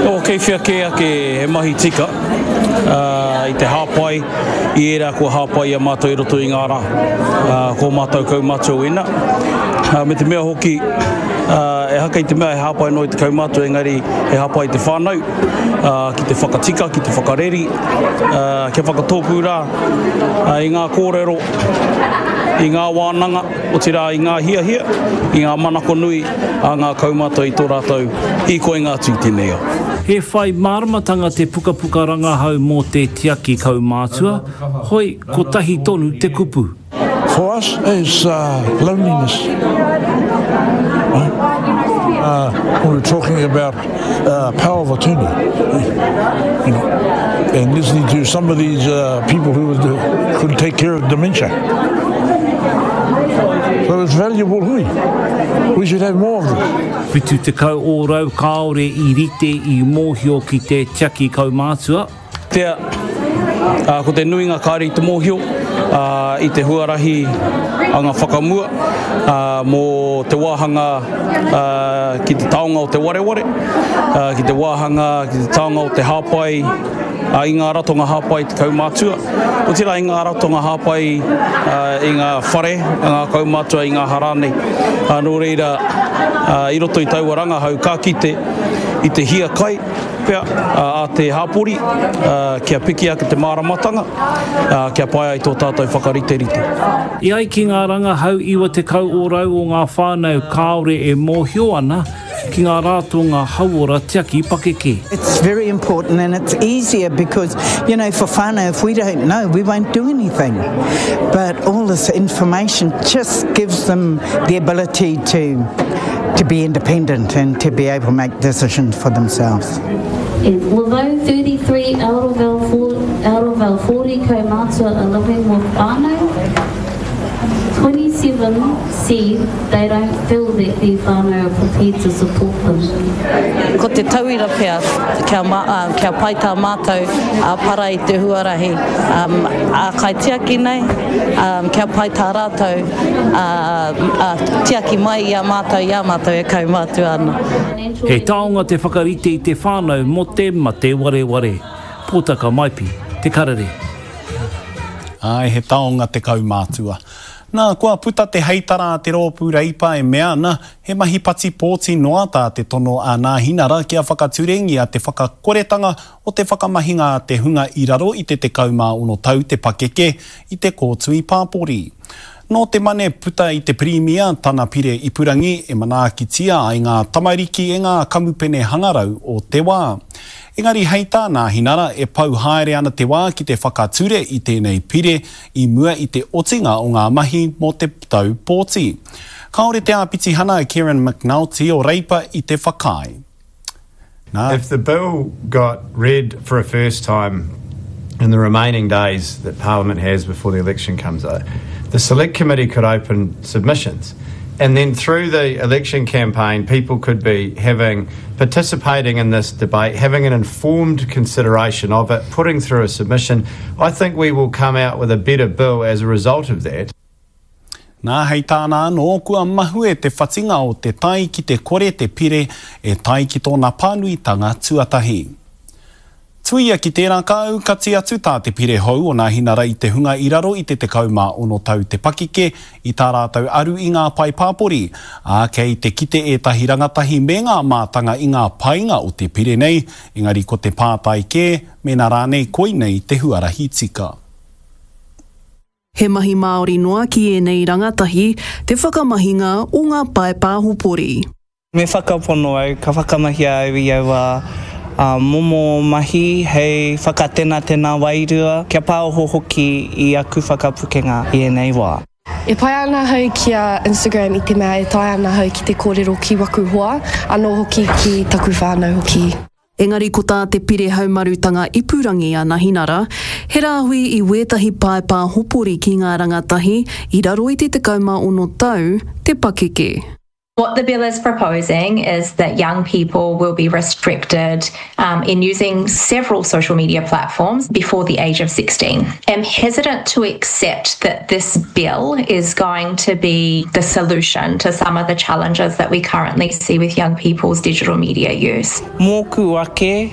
Oh, kei whea kē ake he mahi tika i te hāpai i ērā kua hāpai i a mātou i roto i ngā rā. Ko mātou kaumātua wēnā. Me te mea hoki, ehake i te mea he hāpai noa i te kaumātua, engari he hāpai i te whānau ki te whakatika, ki te whakareri, kia whakatōpū rā i ngā kōrero, i ngā wānanga, otirā i ngā hiahia, i ngā manako nui a ngā kaumātua i tō rātou hīkoinga atu i tēnei ao. He whai māramatanga te pukapuka rangahau mō te tiaki kaumātua, hoi kotahi tonu te kupu. For us it's loneliness when we're talking about power of attorney you know and listening to some of these people who could take care of dementia so it's valuable hui we should have more of this. 70 ōrau kāore i rite i mōhio ki te tiaki kaumātua. Tea, ā, ko te nuinga kāore i te mōhio, ā, i te huarahi anga whakamua, ā, mō te wāhanga, ā, ki te taonga o te wareware, ā, ki te wāhanga, ki te taonga o te hāpai, ā, i ngā ratonga hāpai te kaumātua, otirā i ngā ratonga hāpai, ā, i ngā whare a ngā kaumātua, i ngā aha rānei. Ā, nō reira, ā, i roto i taua rangahau ka kite i te hiakai pea a te hapori kia piki ake te māramatanga, kia pai ai tō tātou whakariterite. E ai ki ngā rangahau, 90 ōrau o ngā whānau kāore e mōhio ana ki ngā rātonga hauora tiaki pakeke. It's very important and it's easier because, you know, for whānau if we don't know we won't do anything but all this information just gives them the ability to to be independent and to be able to make decisions for themselves. And although 33 out of our, four, out of our 40 kaumātua are living with whānau, 27 said they don't feel that their whānau are prepared to support them. Ko te tauira pea kia, kia pai tā mātou para i te huarahi ā-kaitiaki nei, kia pai tā rātou tiaki mai i a mātou i a mātou e kaumātua ana. He taonga te whakarite i te whānau mō te mate wareware. Pōtaka Maipi, Te Karere. Āe, he taonga te kaumātua. Nā, kua puta te heitara a te Rōpū Reipa e mea ana, he mahi pati pōti noa tā te tono a Nāhinara kia whakaturengia te whakakoretanga o te whakamahinga a te hunga i raro i te 16 tau te pakeke i te kōtui pāpori. Nō te Mane puta i te Pirimia tana pire ipurangi e manaakitia ai ngā tamariki e ngā kamupene hangarau o te wā. Engari hei tā Nāhinara e pau haere ana te wā ki te whakature i tēnei pire i mua i te otinga o ngā mahi mō te tau pōti. Kāore te āpitihana a Kieran McNulty o Reipa i te whakaae. Nā. If the bill got read for a first time in the remaining days that Parliament has before the election comes out, the Select Committee could open submissions. And then through the election campaign, people could be having participating in this debate, having an informed consideration of it, putting through a submission. I think we will come out with a better bill as a result of that. Nā, hei tāna anō, kua mahue te whatinga o te tai ki te kore te pire e tae ki tōna pānuitanga tuatahi. Tuia ki tērā ka aukati atu tā te pire hou o Nāhinara i te hunga i raro i te 16 tau te pakeke i tā rātou aru i ngā pae pāpori, ā, kei te kite ētahi rangatahi me ngā mātanga i ngā painga o te pire nei, engari ko te pātai kē, mēnā rānei koinei te huarahi tika. He mahi māori noa ki ēnei rangatahi te whakamahinga o ngā pae pāhopori. Me whakapono au, ka whakamahia au i aua momo mahi hei whakatenatena wairua, kia pāoho hoki i aku whakapukenga i ēnei wā. E pai ana ahau ki a Instagram i te mea e taea ana ahau ki te kōrero ki waku hoa, anō hoki ki taku whānau hoki. Engari ko tā te Pire Haumarutanga Ipurangi a Nahinara, he rāhui i wētahi pae pāhopori ki ngā rangatahi i raro i te 16 tau te pakeke. What the bill is proposing is that young people will be restricted um, in using several social media platforms before the age of 16. I'm hesitant to accept that this bill is going to be the solution to some of the challenges that we currently see with young people's digital media use. Mōku ake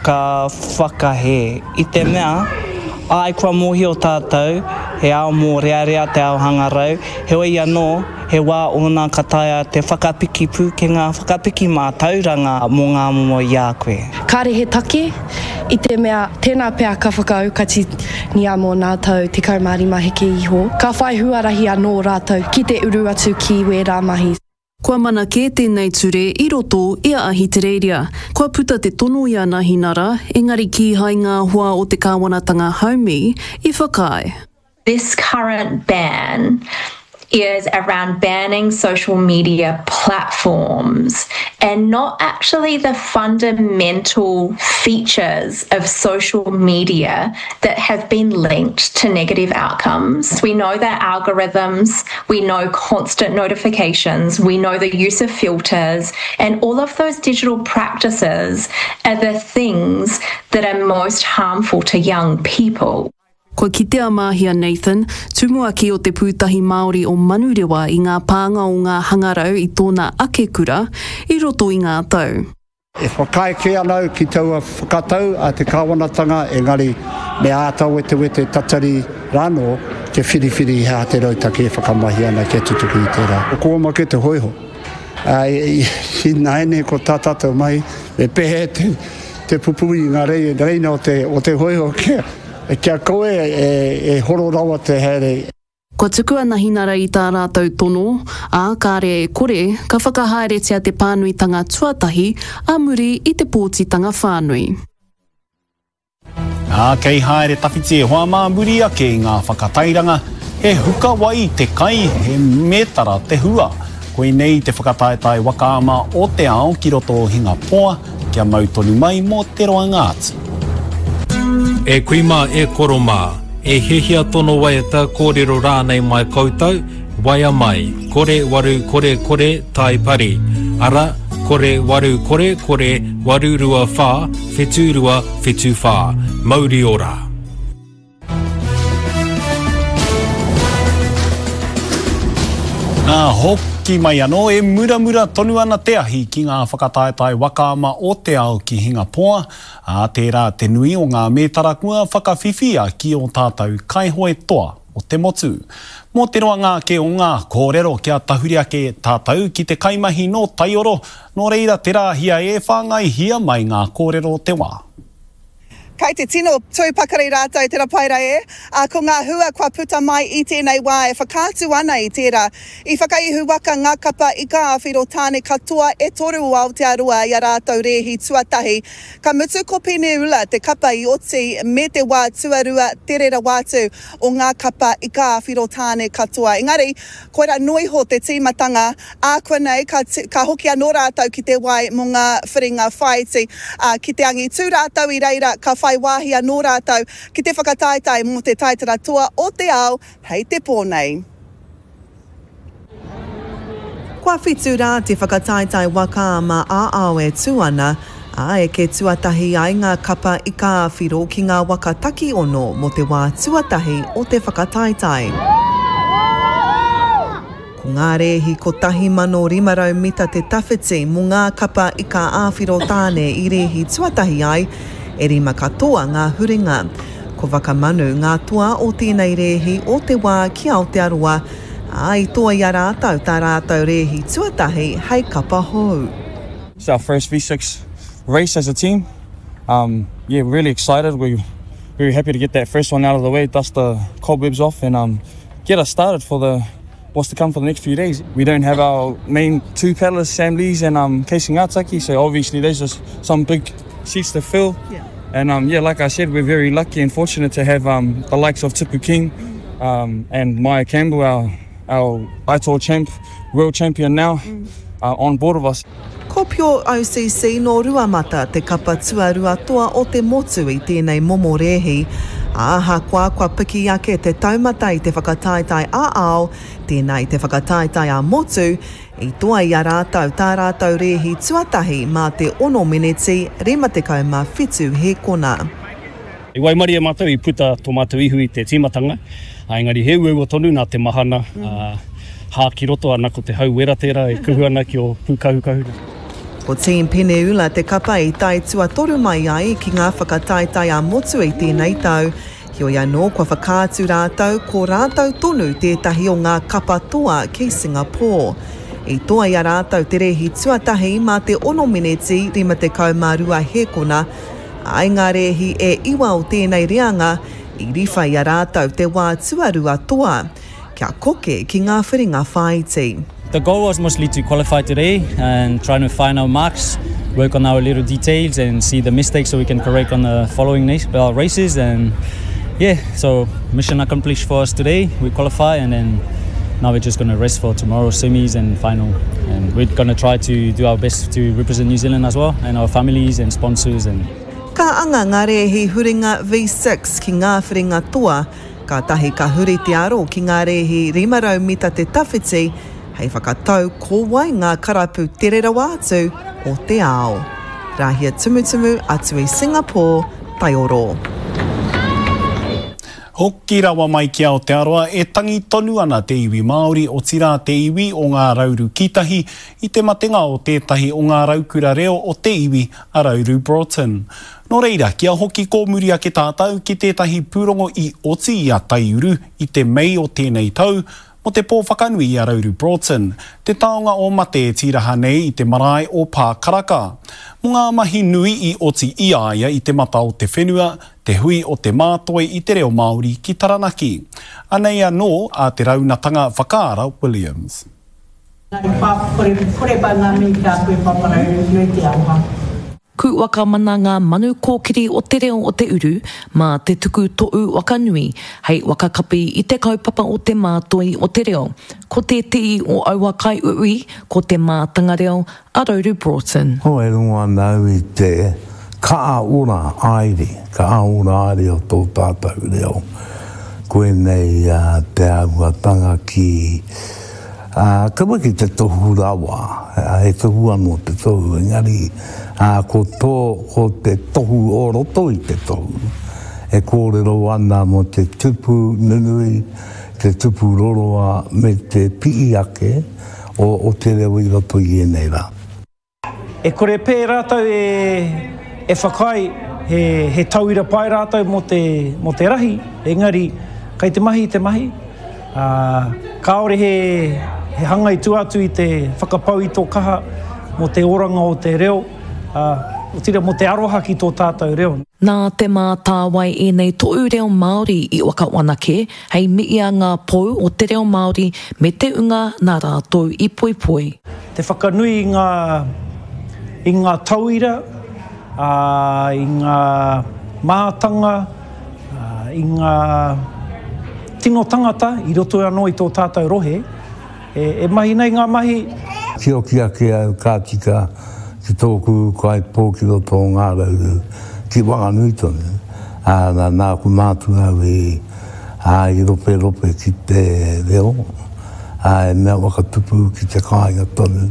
ka whakahē i te mea, āe kua mōhio tātou he ao mōrearea te ao hangarau, heoi anō he wā ōna ka taea te whakapiki pūkenga, whakapiki mātauranga mō ngā momo i a koe. Kāre he take, i te mea tēnā pea ka whakaaukatinia mō nā tau 15 heke iho, ka whai huarahi anō rātou ki te uru atu ki wērā mahi. Kua mana kē tēnei ture i roto i a Ahitereiria. Kua puta te tono i a Nahinara, engari kīhai ngā hoa o te kāwanatanga haumi i whakaae. This current ban is around banning social media platforms and not actually the fundamental features of social media that have been linked to negative outcomes. We know that algorithms, we know constant notifications, we know the use of filters, and all of those digital practices are the things that are most harmful to young people. Kua kite a Māhia Nathan, tumuaki o Te Pūtahi Māori o Manurewa i ngā pānga o ngā hangarau i tōna ake kura i roto i ngā tau. E whakaae kē ana au ki taua whakatau a te kāwanatanga engari me āta wetewete tatari rānō kia whiriwhiri he aha te rautaki e whakamahi ana kia tutuki i tērā. Ko Omake te hōiho. Ināianei ko tā tātou mahi me pēhea te pupuri i ngā reina o te hōiho kia kaua e horo rawa te haere. Kua tuku a Nahinara i tā rātou tono, ā, kāre e kore, ka whakahaeretia te pānuitanga tuatahi ā muri i te pōtitanga whānui. Ā, kei haere tawhiti e hoa mā muri ake i ngā whakatairanga, he huka wai te kai, he mētara te hua. Koinei te whakataetae waka ama o te ao ki roto o Hingapoa, kia mau tonu mai mō te roanga atu. E kui mā, e koro mā, e hiahia tono waiata, kōrero rānei mai koutou, waea mai, kore waru kore kore tai pari, ara, kore waru kore kore 8 2 whā 7 2 7 whā. Mauri ora! Nā, hoki mai anō, e muramura tonu ana te ahi ki ngā whakataetae waka ama o te ao ki Hingapoa, ā, tērā te nui o ngā mētara kua whakawhiwhia ki ō tātou kaihoe toa o te motu. Mō te roanga ake o ngā kōrero kia tahuri ake tātou ki te kaimahi nō Taioro, nō reira te rāhia e whāngaihia mai ngā kōrero o te wā. Kei te tino tū pakari rātou te rapaira e, ā, ko ngā hua kua puta mai i tēnei wā e whakaatu ana i tērā. I whakaihu waka ngā kapa ika āwhiro tāne katoa e toru o Aotearoa i a rātou rēhi tuatahi. Ka mutu ko Peneula te kapa i oti me te wā tuarua tere rawa atu o ngā kapa ika āwhiro tāne katoa. Engari, koirā noa iho te tīmatanga Ākuanei ka, ka hoki anō rātou ki te wai mō ngā whiringa whāiti, ā, ki te angitū rātou i reira ka whai wāhi anō rātou ki te whakataetae mō te taitara toa o te ao hei te pō nei. Kua whitu rā te whakataetae waka ama ā-ao e tū ana, ā, eke tuatahi ai ngā kapa ika-ā-whiro ki ngā waka takiono mō te wā tuatahi o te whakataetae. Ko ngā rēhi 1,500 mita te tawhiti mō ngā kapa ika-ā-whiro tāne i rēhi tuatahi ai, e rima katoa ngā huringa. Ko Whakamanu ngā toa o tēnei rēhi o te wā ki Aotearoa, ā, i toa i a rātou tā rātou rēhi tuatahi hei kapa hou. It's our first V6 race as a team. Um, yeah, we're really excited. We're very happy to get that first one out of the way, dust the cobwebs off and um, get us started for the what's to come for the next few days. We don't have our main two paddlers, Sam Lees and um, Casey Ngataki, so obviously there's just some big seats to fill. Yeah. And um, yeah, like I said, we're very lucky and fortunate to have um, the likes of Tipu King um, and Maya Campbell, our, our ITOR champ, world champion now, mm. uh, on board of us. Ko Pure OCC nō Ruamata te kapa tuarua toa o te motu i tēnei momo rēhi. Ahakoa kua piki ake te taumata i te whakataetae ā-ao, tēnā i te whakataetae ā-motu, i toa i a rātou tā rātou rēhi tuatahi mā te ono meneti 57 hēkona. I waimarie mātou i puta tō mātou ihu i te tīmatanga, engari he uaua tonu nā te mahana, hā ki roto ana ko te hau wera tērā e kuhu ana ki ō pūkahukahu. Ko Team Peneula te kapa i tae tuatoru mai ai ki ngā whakataetae ā-motu i tēnei tau. Heoi anō kua whakaatu rātou ko rātou tonu tētahi o ngā kapa toa ki Singapore. I toa i a rātou te rēhi tuatahi mā te ono meneti 52 hēkona, ā, i ngā rēhi e iwa o tēnei reanga i riwha i a rātou te wā tuarua toa. Kia koke ki ngā whiringa whāiti. The goal was mostly to qualify today and trying to find our marks, work on our little details and see the mistakes so we can correct on the following races and yeah, so mission accomplished for us today. We qualify and then now we're just going to rest for tomorrow semis and final and we're going to try to do our best to represent New Zealand as well and our families and sponsors and Ka anga ngā rēhi huringa V6 ki ngā whiringa toa Kātahi ka huri te aro ki ngā rēhi 500 mita te tawhiti hei whakatau ko wai ngā karapu tere rawa atu o te ao. Rahia Tumutumu atu i Singapore, Taioro. Hoki rawa mai ki Aotearoa, e tangi tonu ana te iwi Māori, otirā te iwi o Ngā Rauru Kītahi, i te matenga o tētahi o ngā raukura reo o te iwi, a Rauru Broughton. Nō reira, kia hoki kōmuri ake tātou ki tētahi pūrongo i oti i a Taiuru i te Mei o tēnei tau, mō te pō whakanui i a Rauru Broughton, te taonga o mate e tīraha nei i te marae o Pākaraka. Mō ngā mahi nui i oti i a ia i te mata o te whenua, te hui o te mātoi i te reo Māori ki Taranaki. Anei anō a Te Raunatanga Whakaara Williams. Ku whakamana ngā manu kōkiri o te reo o te uru mā te tuku toʻu waka nui hei whakakapi i te kaupapa o te mātoi o te reo. Ko tēteʻi o aua kaiuiui ko te mātanga reo a Rauru Broughton. Oh, e rongo ana au i te kaa ora aere, kaa ora aere o tō tātou reo. Koinei te āhuatanga ki Ā, kaua ki te tohu rawa, he tohu anō te tohu, engari, ā, ko tō, ko te tohu o roto i te tohu, e kōrero ana mō te tupu nunui, te tupu roroa me te pi'i ake o, o te reo i roto i ēnei rā. E kore pē rātou e whakaae he tauira pai rātou mō te, mō te rahi, engari kei te mahi te mahi, ā, kāore he, he hanga i tua atu i te whakapau i tō kaha mō te oranga o te reo, ā, otirā mō te aroha ki tō tātou reo. Nā Te Mātāwai ēnei tohu reo Māori i whakawanake hei miia ngā pou o te reo Māori me te unga nā rātou i poipoi. Te whakanui i ngā, i ngā tauira, ā, i ngā mātanga, ā, i ngā tino tangata i roto anō i tō tātou rohe, e, e mahi nei ngā mahi. Tioki ake au ka tika ki tōku ūkaipō ki roto o Ngā Rauru, ki Wanganui tonu, ā, nā, nāku mātua au i, ā, i roperope ki te reo. ā, he mea whakatupu ki te kāinga tonu,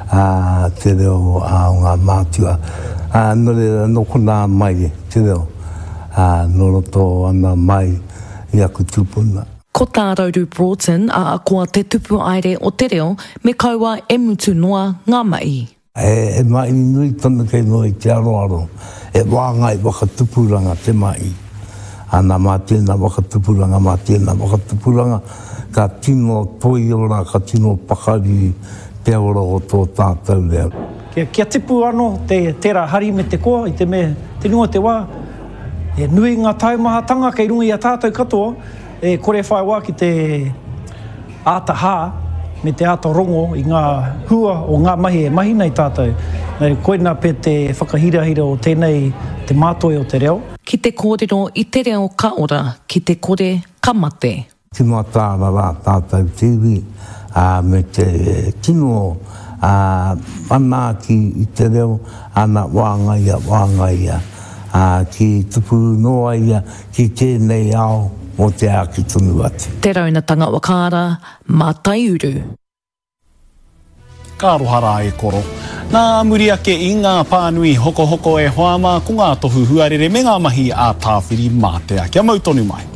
ā, te reo ā, o ngā mātua. Ā, nō reira, nō konā mai te reo, ā, nō roto ana mai i aku tūpuna. Ko tā Rauru Broughton, ahakoa te tupu haere o te reo, me kaua e mutu noa ngā mahi. He mahi nui tonu kei mua i te aroaro, he wāngai whakatupuranga te mahi. Ana, mā tēnā whakatupuranga, mā tēnā whakatupuranga, ka tino toiora, ka tino pakari te ora o tō tātou reo. Kia tipu ano te tera hari me te koa i te mea te nui o te wa, he nui nga taumahatanga kei runga i a tatou katoa, e kore whai wa ki te āta hā me te āta rongo i ngā hua o ngā mahi e mahi nei tātou. Nā reira, koinā pea te whakahirahira o tēnei, te mātoi o te reo. Ki te kōrero i te reo ka ora, ki te kore ka mate. Tino ataara rā tātou te iwi, ā, me te tino, ā, manaaki i te reo, ana, wāngaia, wāngaia. ā, ki tupu noa ia ki tēnei ao mō te āki tonu atu. Te Raunatanga Whakaara, Mātaiuru. Ka aroha rā e koro. Nā muri ake i ngā pānui hokohoko e hoa mā, ko ngā tohu huarere me ngā mahi a Tāwhiri Mātea. Kia mau tonu mai.